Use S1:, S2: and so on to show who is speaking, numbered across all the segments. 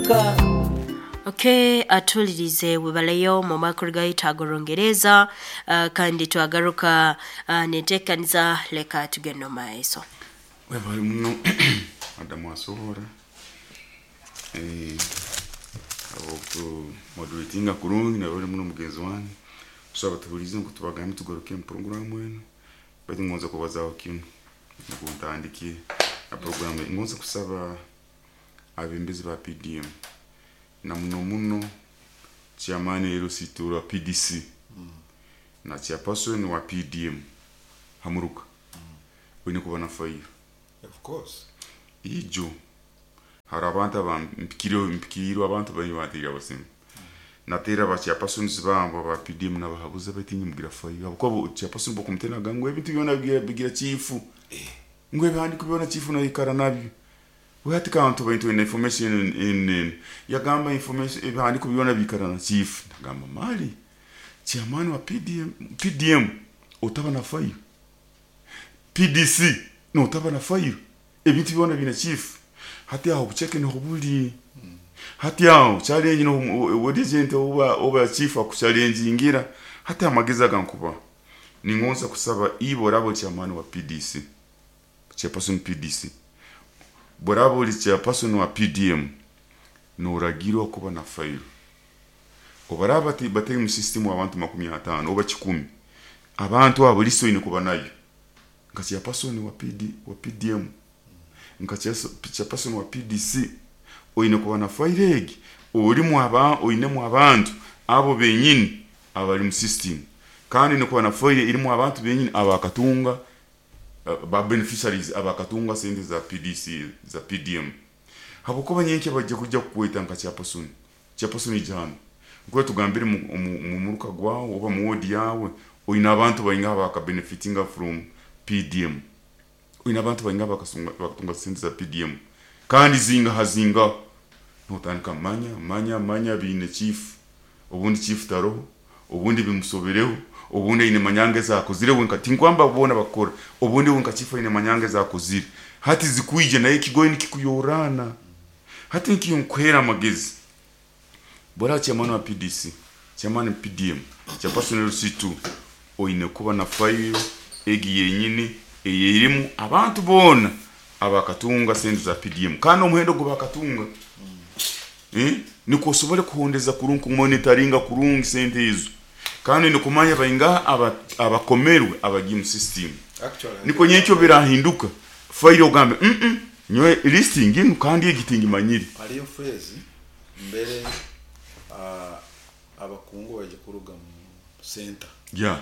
S1: Mumiruka.
S2: Okay, atulirize webaleyo mu makuru gaitu ag'Orungereza, kandi twagaruka neteekaniza leka tugende omu maiso.
S3: Webale muno Adamu asohora moderatinga kurungi nabale muno mugenzi wange so abatubulize ngu tubagambe tugaruke mu programu eno, baitu ngonza kubazaho kinu ngu ntandike na programu. Ngonza kusaba abembezi ba PDM na muno muno chairman LC2 wa PDC na chairperson wa PDM hamuruka oine kuba na file.
S4: Of course.
S3: Ijo hari abantu abampikireho mpikirwe abantu bari banteera abasimu nateera ba chairpersons babo ba PDM n'abahabuzi baitu mugira file, habwokuba chairperson bokumuteraga ngu ebintu byona bigira chifu ngu ebihandiko byona chifu naikara nabyo we hati kantu baintu ina information in yagamba information ebihandiko byona bikara na chief. Nagamba mali chairman wa PDM otaba na file, PDC no otaba na file, ebintu byona bina chief. Hati aho bucheke niho buli, hati aho challenge no odijente oba chief akuchallenge ingira. Hati amagezi agankuba ningonza kusaba ibo rabo chairman wa PDC, chairperson PDC, boraba ori chairperson wa PDM noragirwa kuba na file. Obaraba batari mu system abantu 50 oba 10, abantu abo liso ine kuba nayo nka chairperson wa PD wa PDM, nka chairperson wa PDC oine kuba na file egi orimu aba oinemu abantu abo benyini abari mu system, kandi ni kuba na file irimu abantu benyini abakatunga ba beneficiaries abakatunga sente za PDC za PDM. Habwokuba nyenke bajja kujja kukweta nka chairperson ijana nkwe tugambire mu muruka gwawe oba mu ward yawe oina abantu bainga baka benefitinga from PDM, oina abantu bainga bakatunga sente za PDM, kandi zinga hazinga notandika manya manya bine chief, obundi chief taroho, obundi bimusobereho, obundi ine manyange zakozire wenka tinkwamba bona bakora, obundi wenka chief ine manyange zakozire hati zikuije naye kigoyi nikikuyorana. Hati nkiyo amagezi bora chairman wa PDC, chairman PDM, chairperson LC2 oine kuba na file egi yenyini eyerimu abantu bona abakatunga sente za PDM, kandi omuhendo gwo bakatunga niko osobole kuhondeza kurungi monitoringa kurungi sente ezo, kandi nikumanya bainga abakomerwe abagiye mu system.
S4: Actually
S3: niko nyenkyo birahinduka file ogambe nyowe listing inu kandi egitingi manyiri
S4: hariyo phrase mbere abakungu baje kuruga mu center
S3: yeah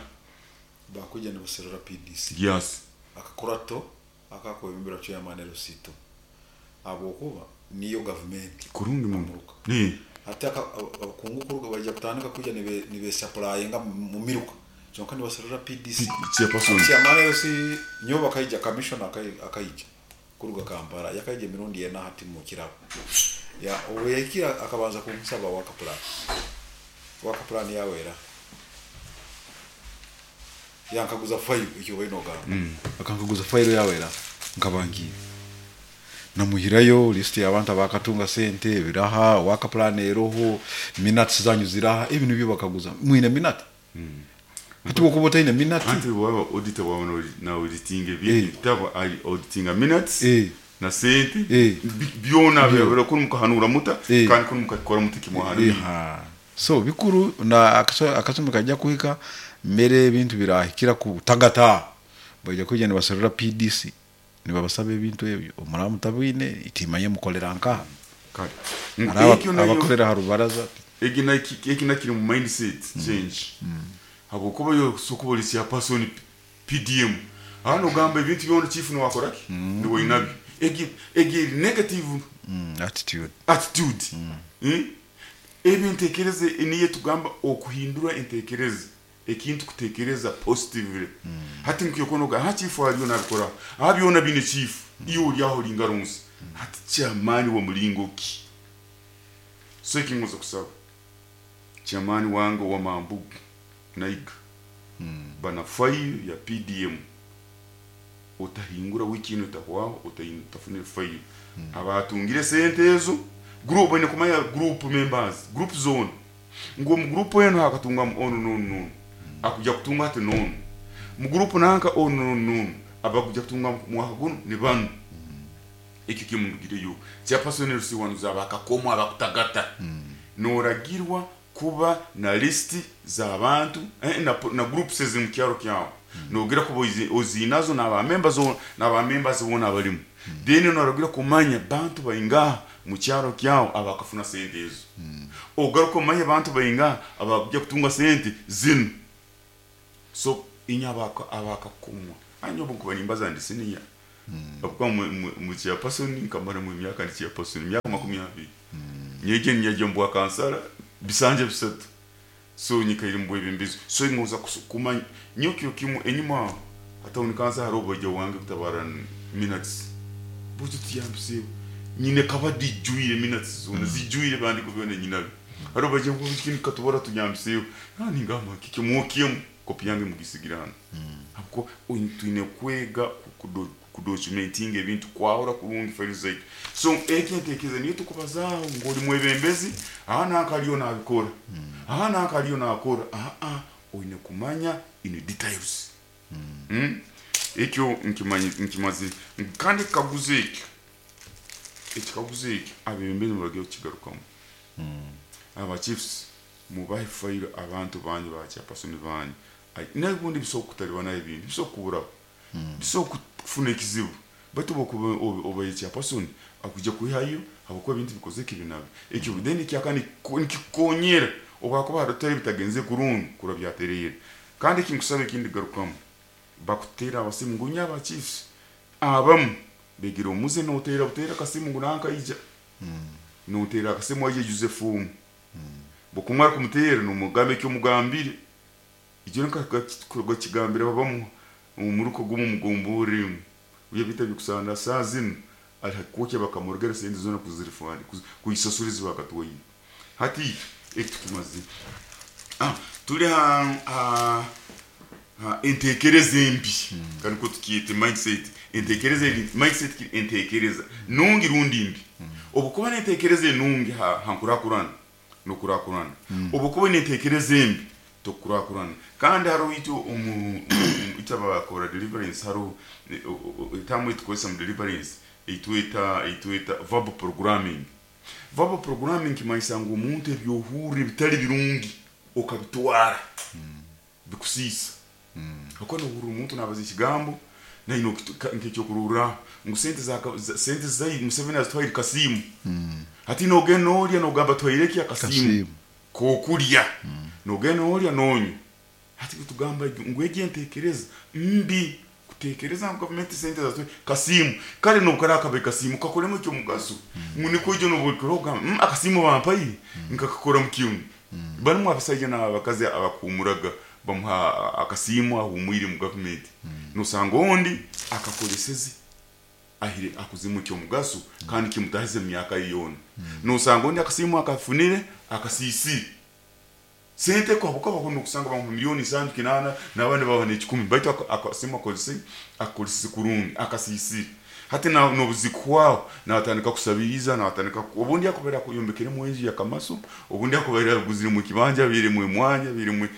S4: bakujya nibaserura PDC
S3: yes
S4: akakurato akakwebembera chairman LC2 abokuba niyo government
S3: kurungi muno ni
S4: ate abakungu kuruga bajya kutandika kujya nibe supplyinga mu miruka kyonka nibaserura PDC
S3: chairperson
S4: chairman LC nyo bakayija commissioner akayija kuruga Kampala yakayija mirundi yena hati mu kirabo ya obuyakira akabanza kumusaba waka plan yawera yankaguza file icyo bayinogamba akankaguza file yawera nkabangi namuhirayo list y'abantu abakatunga sente biraha waka plan eroho minutes zanyu ziraha ibintu byo bakaguza mwine minute hati wokuba utaine minute
S3: anti waba auditor wawe na auditing bitabo ari auditing minutes na sente byona byabera kuri mukahanura muta kandi kuri mukakora muta kimwahana.
S4: So bikuru na akasumi kajya kuhika mbere ebintu birahikira ku tagata bajya kujya nibaserura PDC nibabasabe ebintu ebyo omuramu tabwine itimanye mukolera nkaha abakolera harubaraza
S3: egi nakiri mu mindset change habwokuba yo sokuba ya person PDM hano gamba ebintu byona chief no wakoraki niwe inabyo egi negative attitude ebintekereze niye tugamba okuhindura entekereze ekintu kutekereza positively. Hati nkiyokonoga ha chief aliyo nabikora aha byona bine chief iyo uri aho lingaronse hati chairman wa mulingo ki so ekingoza kusaba chairman wange wa Mambugu naiga bana file ya PDM otahingura wiki ino tahwaho utafunire file abatungire sente ezo Group oine kumanya group members, group zone. Ngu omu group enu hakatungamu onu n'onu n'onu. Akuja kutunga hati n'onu. Mu group nanka onu n'onu n'onu. Abakuja kutunga mwaka gunu ni banu. Ekyo kimundugireyo. Chairperson LC1 z'abakakomo abakutagata. Noragirwa kuba na lisiti z'abantu na groups eziri mu kyaro kyawe. Nogira kuba ozinazo n'aba members boona abalimu. Then noragira kumanya bantu baingaha mu kyaro kyawe abakafuna sente ezo. Ogaruka omanye abantu baingaha abakuja kutunga sente zinu. So inye abakakomwa anye obu nkuba nimbaza ndi senior, habwokuba mu chairperson nkamaramu emyaka ndi chairperson, emyaka 20. Nyege nyajya mu bwa kansara bisanja 3, so nyikaire mu bwebembezi, so ngoza kumanya nyo kiro kimu enyuma aho hatawuni kansa hariho obwejja wange kutabara minutes bujo tuyambiseho nyine kabadi ijwire minutes zona zijwire bandiko byona nyinabi hariho bajja ngo kini katubara tuyambiseho ningamba kiki mwokyemu kopi yange mugisigira hano, habwo twine kwega kudocumentinga ebintu, kwahura kurungi faili zaitu. So eki entekereza niyo tukubazaaho ngu oli mwebembezi, aha nanka aliyo nabikora, aha nanka aliyo nakora, aha oine kumanya in details. Ekyo nkimanyi nkimazire. Kandi ekikaguzo ekyo, ekikaguzo ekyo abebembezi mubagire kukigarukamu. Aba chiefs mubahe fayiro abantu banyu, ba chairperson banyu. Naye obundi bisobola kutalibana, ebintu bisobola kuburaho, bisobola kufuna ekizibu, baitu bwokuba obaye chairperson akujja kwihayo habwokuba ebintu bikoze kibi nabi ekyo. Then ekyakani nikikukonyera obwakuba harotari bitagenze kurungi kurora byatereire. Kandi ekinkusaba ekindi garukamu bakutera abasimu ngu nya aba chiefs abamu begira omuze notera butera akasimu ngu nankaija, notera akasimu aije ajuze fomu. Bwokumara kumutera nomugamba ekyo omugambire ijo kigambira babamu omuruko gumu mugombore uye bita bikusanda saa zinu ali hakwokya bakamurogera sente zona kuzirifandi kuyisasuriza bakatwaire. Hati eki tukimaze. Tuli ha entekereza embi, kandi ko tukiyete mindset. Entekereza eri mindset entekereza nungi rundi mbi. Obukuba n'entekereza enungi ha nkurakurana nokurakurana, obukuba n'entekereza embi tokurakurana. Kandi hariho itwe omu itwe abakora deliverance, hariho etamu etukozesa mu deliverance eitweta verbal programming. Verbal programming kimanyisa ngu omuntu ebyohurra ebitali birungi okabitwara bikusiisa. Okuba nohurra omuntu nabaza ekigambo naine nk'ekyokurorraho ngu sente sente zai Museveni azitwaire kasiimu. Hati nogenda nolya nogamba twaire ki? Akasiimu.
S4: Kasiimu.
S3: Kokulya nogenda nolya nonywa. Hati tugamba ngu egi entekereza mbi, kutekereza ngu gavumenti sente zatwaire kasiimu. Kale nobukara akabe kasiimu kakolemu ekyomugaso ngu nikwo ijo nobukora ogamba, akasiimu bampaire nkakakora mu kimu." Barimu abasaija n'abakazi abakuhumuraga bamuha akasiimu ahumwire mu gavumenti, nosanga ondi akakoleseze ahire akuzimu ekyomugaso kandi kimutahize mu myaka ye yoona. Nosanga ondi akasiimu akafunire akasiisire sente ko habwokuba bakunda okusanga bamuha miliyoni 7, 8, n'abandi babaha n'ekikumi, baitu akasiimu akoleseze kurungi akasiisire. Hati nobuzikuhwaho natandika kusabiriza, natandika obundi akubaire akuyombekeremu enju yakamaso, obundi akubaire aguziremu ekibanja abiiremu emwanya, abiiremu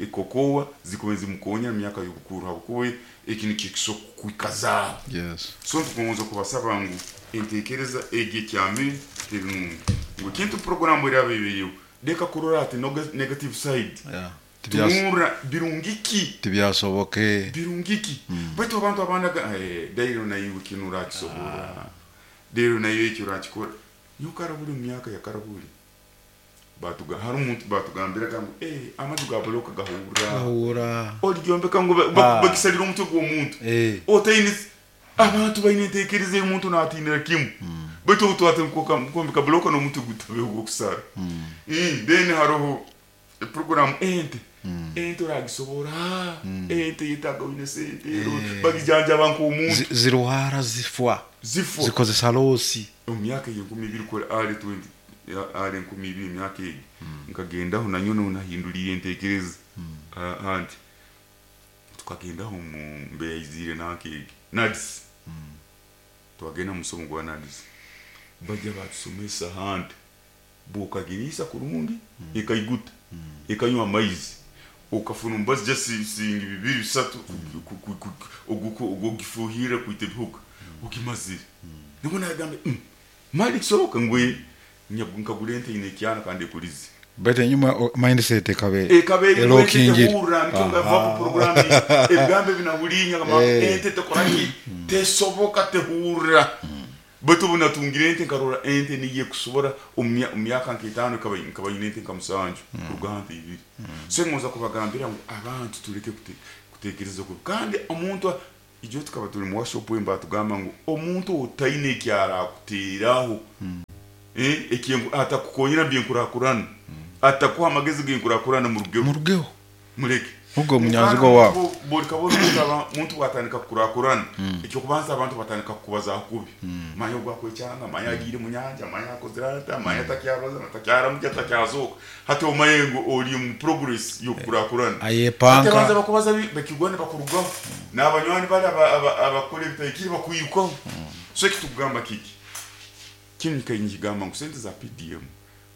S3: ekokoa zikuba nizimukonyera mu myaka y'obukuru, habwokuba eki nikyo kisobola kukwikazaaho. So ntugonza kubasaba ngu entekereza egi ekyamire teri nungi, ngu ekintu programu eraba ebeireho leka kurora ati negative side. Tunurra birungi ki.
S4: Tibyasoboke.
S3: Birungi ki, baitu abantu abandi dairo naiwe kinu orakisobora, dairo naiwe ekyo orakikora. Nyowe karabuli mu myaka ya karabuli batuga hari omuntu batugambiraga ngu amaju ga buloka gahurra.
S4: Gahurra.
S3: Oligyombeka ngu bakisalira omutwe gw'omuntu. Otaine abantu baine entekereza y'omuntu natinira kimu, baitu obu twatandika buloka n'omutwe gutabeho gw'okusara. Then hariho programu ente. Ente oragisobora? Ente yetaaga oine sente, bagijanjaba nk'omuntu.
S4: Zirwara zifwa.
S3: Zifwa.
S4: Zikozesa loosi.
S3: Omu myaka y'enkumu 20 kora ali 20 ali 2000, emyaka egi nkagendaho nanyowe nahindulire entekereza. Anti tukagendaho mu mbeya izire nanka egi NAADS, twagenda mu musomo gwa NAADS. Bajya batusomesa ahandi bwokagiriisa kurungi ekaiguta ekanywa amaizi okafuna omubazi just singi bibiri bisatu ogugifuhirra kwita ebihuka okimazire. Nibwo nagamba, mali kisoboka ngwe nkagura ente ine ekyana kandi ekulize.
S4: Baitu enyuma mindset ekabe
S3: Ekaba
S4: erokingire.
S3: Erokingire nikyo ngavaku program ebigambo ebinahuliinya ngamba ente tekora ki, tesoboka, tehurra. Baitu obu natungire ente nkarora ente niyo ekusobora omu myaka nk'etaano nkaba nyine ente nka 7 kuruga ha nte 2. So ngonza kubagambira ngu abantu tuleke kutekereza kubi. Kandi omuntu ijo tukaba tuli mu workshop emwe batugamba ngu omuntu otaine eki arakuteeraho, atakukonyera mu byenkurakurana, atakuha amagezi g'enkurakurana, murugeho.
S4: Murugeho.
S3: Muleke.
S4: Ubwo munyanzigwa wawe.
S3: Boli kabona omuntu bwatandika kukurakurana, ekyokubanza abantu batandika kukubaza kubi. Manya ogwakwekyanga, manya agiire mu nyanja, manya akozire ata, manya takyabaza, takyaramukya, takyazoka. Hati omaye ngu ori mu progress y'okukurakurana.
S4: Ayepanka.
S3: Hati abanza bakubaza bakigwa nibakurugaho. N'abanywani bari abakora ebitahikire bakwirukaho. So ekitugamba kiki? Kinu nikigamba ngu sente za PDM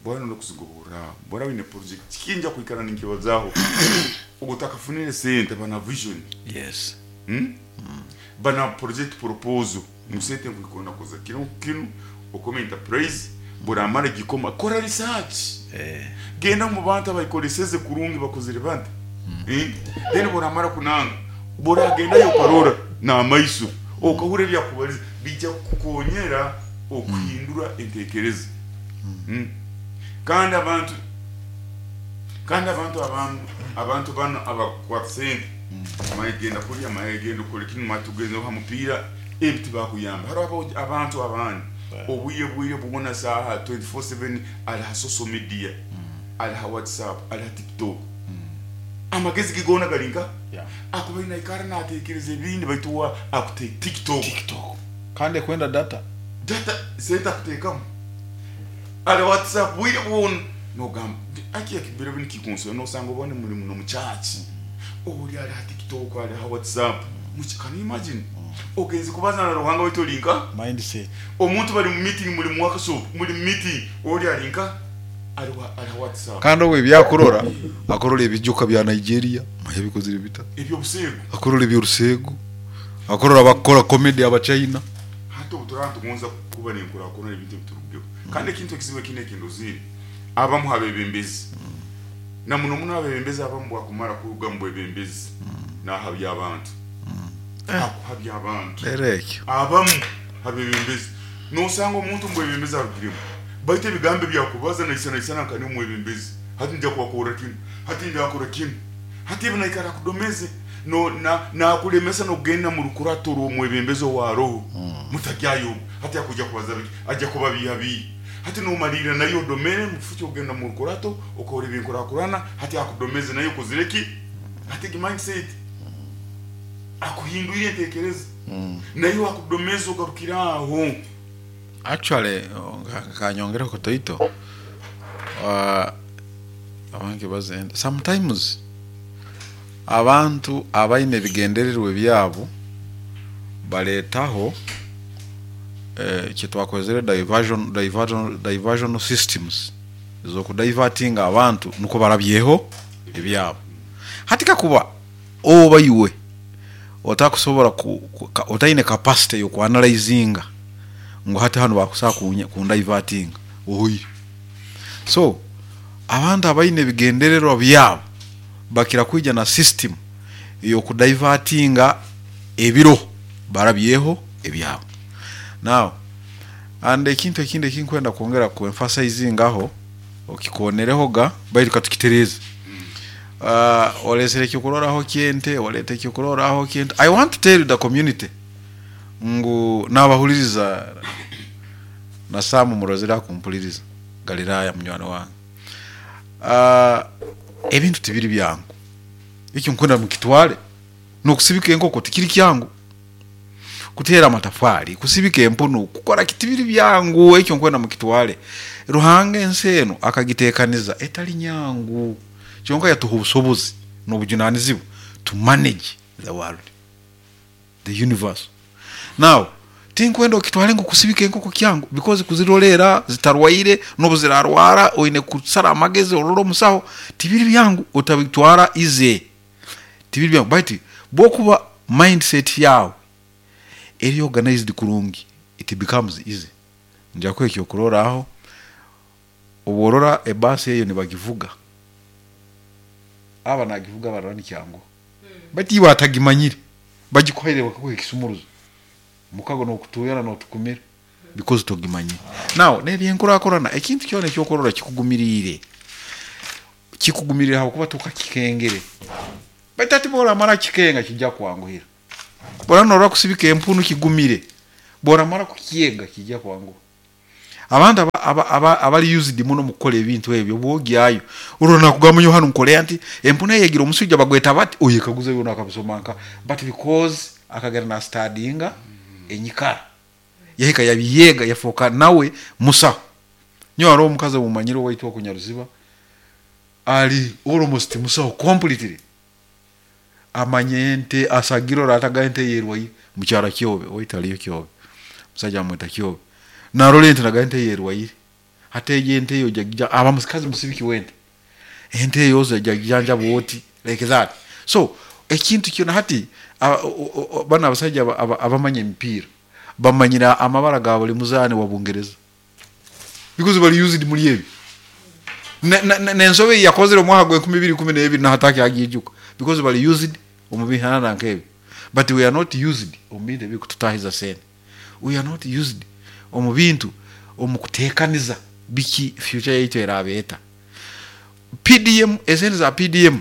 S3: bwana nokuzigoborra, bora wine project kinja kwikara ninkibazaho. Ogutakafunire sente bana vision.
S4: Yes.
S3: Bana project proposal. Musete nkuikona koza kino kino okome enterprise buramara gikoma kora research. Genda mu bantu abayikoleseze kurungi bakozere bante. Then buramara kunanga buragenda yo karora na amaiso okahura ebyakubaliza bijja kukonyera okuhindura entekereza. Kandi abantu abantu bano abakwata sente maye genda kulya, maye genda okole kinu, maye tugende ha mupiira, ebi tibakuyamba. Hariho abantu abandi obwire bwire bubona saha 24/7 ari ha social media, ari ha WhatsApp, ari ha TikTok. Amagezi gigona garinka akuba naikara natekereza ebindi baituwa akute TikTok.
S4: TikTok. Kandi kwenda data.
S3: Data senta kuteekamu. Ari WhatsApp bwire bwona nogamba aki akibira bini kikunso nosanga obone muri muno mu church. Ori ari ha TikTok, ari ha WhatsApp. Can you imagine? Ogenze kubaza na Ruhanga wetu linka
S4: mindset.
S3: Omuntu bari mu meeting, muri mu workshop, muri meeting, ori arinka ari ha WhatsApp.
S4: Kandi owe byakurora akorora ebijuka bya Nigeria, maye bikozire bita.
S3: Ebyo busego.
S4: Akorora ebyo rusego. Akorora bakora comedy aba China.
S3: Hato buturantu gonza kuba nenkura akora ebintu biturugeho. Kandi ekintu ekizibu kine kindozire. Abamu habebembezi. Na muno muno abebembezi abamu bwakumara kuruga mu bwebembezi. Nahabya abantu. Akuhabya abantu.
S4: Ereke.
S3: Abamu habebembezi. Nosanga omuntu mu bwebembezi arugiremu. Baite ebigambo byakubaza na isana isana nkani mu bwebembezi. Hati nja kwakora kinu. Hati nja kwakora kinu. Hati ibona ikara kudomeze. No na akulemesa no kugenda mu rukurato rwo mwebembezo wa roho. Mutajyayo. Hati akuja kubaza biki? Ajya kuba bihabi. Hati no malira nayo domene mufucho kugenda mu rukurato okora ibinkora kurana hati akudomeze nayo kuzireki. Hati mindset akuhindwire entekereza. Nayo akudomeze ukarukiraho.
S4: Actually kanyongera ko toito. Abange bazenda sometimes abantu abaine ebigendererwa byabo baletaho kitwakozere diversion systems zo kudivertinga abantu nuko barabyeho ebyabo. Hatika kuba oba iwe otakusobora otaine capacity yo kuanalyzinga ngo hati hano bakusa kundivertinga oyi. So abantu abaine ebigendererwa byabo bakira kuija na system yo kudivertinga ebiro barabyeho ebyabo. Now and ekintu ekindi ekinkwenda kwongera ku emphasizing aho okikonereho ga baitu katukitereze. Olesere kyokuroraho kyente, olete kyokuroraho kyente. I want to tell the community ngu nabahuliriza na Samu murozera kumpuliriza Galilaya munywani wange. Ebintu tibiri byangu. Ekyo nkwenda mukitwale nokusibika enkoko tikiri kyangu. Kutera amatafari, kusibika empunu, kukora kitibiri byangu. Ekyo nkwenda mukitwale. Ruhanga ensi eno akagitekaniza etali nyangu. Kyonka yatuha obusobozi n'obujunanizibwa to manage the world, the universe. Now Tinkwenda okitwale ngu kusibika enkoko kyangu, because kuzirolera zitarwaire, n'obu zirarwara oine kusara amagezi orole omusaho, tibiri byangu, otabitwara easy, tibiri byangu. Baitu bwokuba mindset yawe eri organized kurungi, it becomes easy. Nja kuha ekyokurorraho, obu orora ebaasi eyo nibagivuga, aba nagivuga barora nikyanguha, baitu iwe atagimanyire bagikuhaire bakakuha ekisumuruzo, mukago n'okutuyana n'otukumira because togimanyire. Now n'ebyenkurakurana, ekintu kyona ekyokurora kikugumiriire, kikugumiriire habwokuba tokakikengere, baitu hati bworamara kikenga kijja kwanguhira. Bworaba norora kusibika empunu kigumire, bworamara kukyega kijja kwanguha. Abantu abali used muno mukukora ebintu ebyo, bwogyayo orora nakugamba nyowe hanu nkole nti empunu eyegira omusujja bagweta bati, oyekaguza byona akabisoma nka, but because akagenda nastadinga enyikara yahika yabyega yafoka nawe musaho. Nyowe haroho omukazi omumanyire owaitu oku Nyaruziba, ali almost musaho completely, amanya ente, asagirora ataga ente eyerwaire, mukyara Kyobe, owaitu aliyo Kyobe, omusaija bamweta Kyobe, narora ente naga ente eyerwaire, hati egi ente eyo ojagija, aba mukazi musibiki w'ente, ente eyo ojagijanjaba oti like that. So ekintu kyona hati banu abasaija abamanya emipiira bamanyire amabara ga buli muzaani wa Bungereza because bali used muli ebi. N'ensobi ei yakozere omwaka gwa 2012 na hati akyagiijuka because bali used omu bihaana nk'ebi. But we are not used omu bintu ebirikututahiza sente. We are not used omu bintu omu kuteekaniza biki future yaitu eraaba eta. PDM, esente za PDM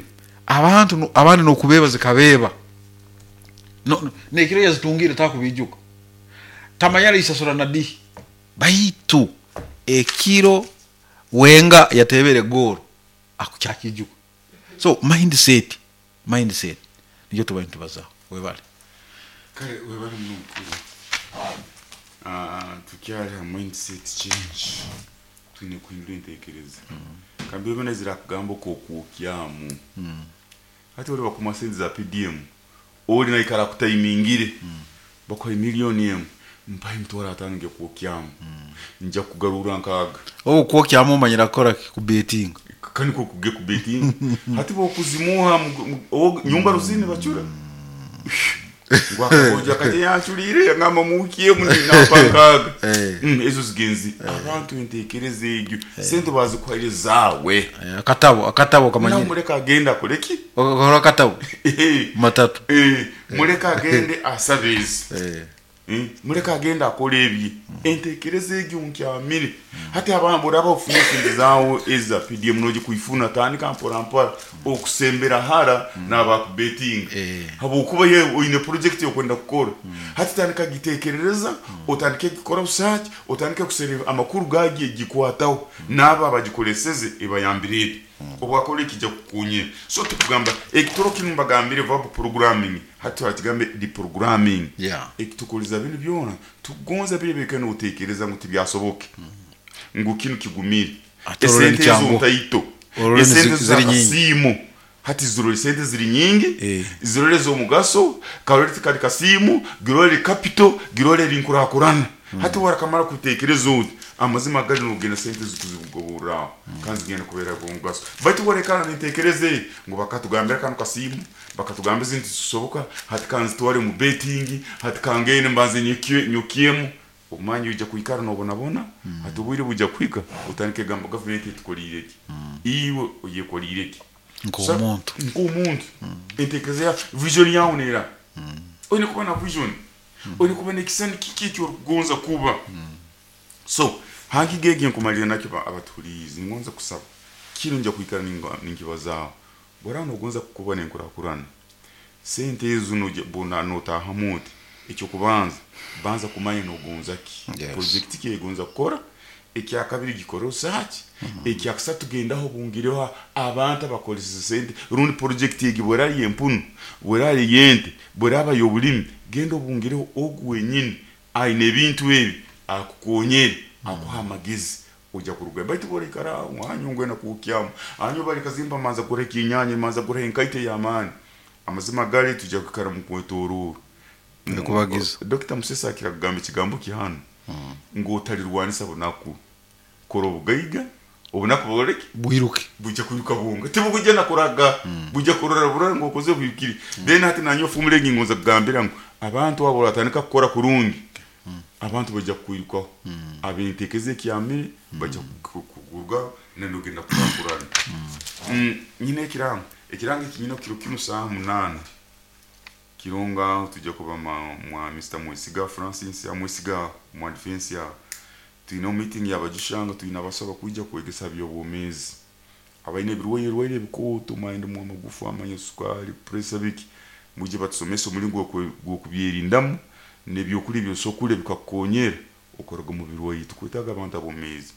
S4: abantu abandi n'okubeeba zikabeeba, n'ekiro yazitungire takubiijuka, tamanya araisasura na dihi. Baitu ekiro wenga yatebere goolo akukyakiijuka. So mindset, mindset nikyo tubaire nitubazaho. Webale.
S3: Kale webale muno mukuru. Tukyali ha mindset change, twine kuhindura entekereza. Kambe byona zirakugamba okwokwokyamu. Hati oli bakuma sente za PDM, oli naikara akutaimingire, bakuha miliyoni emu, mpaho 50,000 nge kwokyamu, nja kugarura nkaaga.
S4: Obu kwokyamu omanyira kukora ki? Kubetinga.
S3: Kani ko kuge kubetinga. Hati bokuzimuha nyumba ruzini bacura. Ngu akagoja kaje yanculire yangamba mukiemu ni nampa nkaaga. Ezo zigenzi abantu entekereza egyo sente bazikuhaire zawe.
S4: Akatabo, akatabo kamanyire.
S3: Na muleka agenda akoleki?
S4: Okora akatabo. Matatu.
S3: Muleka agende asabezi. Muleka agenda akole ebi. Entekereza egyo nkyamire. Hati abantu boraba ofune sente zawe eza PDM noje kuifuna tandika mpora mpora okusembera hara n'abakubetinga. Habwokuba ye oine project yokwenda kukora. Hati tandika gitekerereza, otandike kukora research, otandike kusere amakuru gagiye gikwataho n'aba abagikoleseze ebayambire ebi. Obwakora ekijja kukunyira. So tukugamba ekitoro kinu mbagambire verb programming, hati turakigambe deprogramming. Ekitukuliza binu byona tugonza bire bikene utekereza ngu tibyasoboke. Ngu kinu kigumire. Esente ezo ntaito. Esente
S4: ziri nyingi.
S3: Simu. Hati zirore sente ziri nyingi. Zirore z'omugaso, karore tikari kasimu, girore capital, girore rinkurakurana. Hati warakamara kutekereza uti amazima gari nogenda sente zikuzigobura kandi zigenda kubera omugaso. Baitu warekana nitekereze ngu bakatugambira kanu kasimu, bakatugamba izintu zisoboka, hati kanzitware mu betting, hati kangende mbanze nyukiemu. Omanyi ujja kuikara nobonabona, hati obwire bujja kuhika otandike gamba government etukolire ki, iwe oyekolire ki
S4: nk'omuntu,
S3: nk'omuntu. Entekereza ya vision yawe nera. Oyine kuba na vision, oyine kuba n'ekisani kiki ekyorukugonza kuba. So hankigege nkumalira nakyo abatuhuliizi, ngonza kusaba kinu nja kuikara ninkibazaho. Bora nogonza kukuba nenkurakurana sente ezo bona notahamu oti ekyokubanza banza kumanya nogonza ki, project ki egonza kukora, ekyakabiri gikore research, ekyakusatu gendaho bungireho abantu abakolesa sente rundi project egi bwerari empunu, bwerari yente, bweraba y'obulimi, genda obungireho ogu wenyini aine ebintu ebi akukonyere, akuha amagezi ojja kuruga. Baitu borekara hanyu ngwena kuukyamu hanyu bali kazimba manza kugura ekinyanya, manza kugura enkaito y'amaani. Amazima gari tujja kukara mu kwetorora.
S4: Nikubagiza.
S3: Dr. Musesa akira kugamba ekigambo kihano ngu otalirwanisa bunaku, kora obugaiga obunaku bworeke
S4: Bwiruke.
S3: Bujja kwiruka bwonka, tibukujja nakuraga, bujja kurora burora ngu okoze bwikiri. Then hati nanyowe fomula egi ngonza kugambira ngu abantu abo batandika kukora kurungi, abantu bajja kukwirukaho, abentekeza ekyamire bajja kurugaho nanogenda kurakurana. Nyine ekirango, ekirango eki nyine kiro kinu saaha 8 kirunga tujja kuba mwa Mr. Mwesiga Francis Amwesiga mwa defense ya twine meeting y'abagishanga, twine abasaba kwija kwegesa by'obwomeezi abaine ebirwaire ebikooto, mayindi mu amagufa, amanya sukali, pressure, biki, mwije batusomese omulingo gw'okubyerindamu n'ebyokulya ebyosobola kulya bikakukonyera okuruga mu birwaire. Tukwetaaga abantu abomeezi.